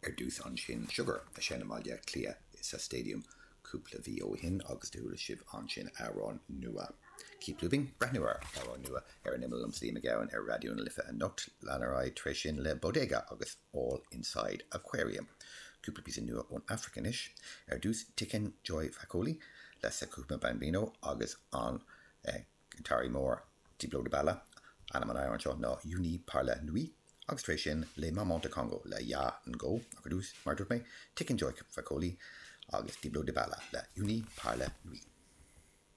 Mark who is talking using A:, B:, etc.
A: Ar dtús ansin Sugar a sheinn i mBaile Átha Cliath sa Stadium cúpla mhí ó shin agus do chuala sibh ansin amhrán nua Keep Looping, breathnú ar amhrán nua ar an imeall liomsa Liam Mac Gabhann ar Raidió na Life anocht. Lean ar aghaidh tar éis sin le Bodega agus All Inside Aquarium. Cúpla píosa nua ón Afraic anois. Ar dtús Tiken Jah Fakoly le Saquma Bambino agus an Giotáraí mór Diblo Dibala, ainm an amhráin seo ná Unis par la nuit, agus tar éis sin Les Mamans du Congo le Ya Ngo, ach ar dtús, mar a dúirt mé, Tiken Jah Fakoly agus Diblo Dibala le Unis par la nuit.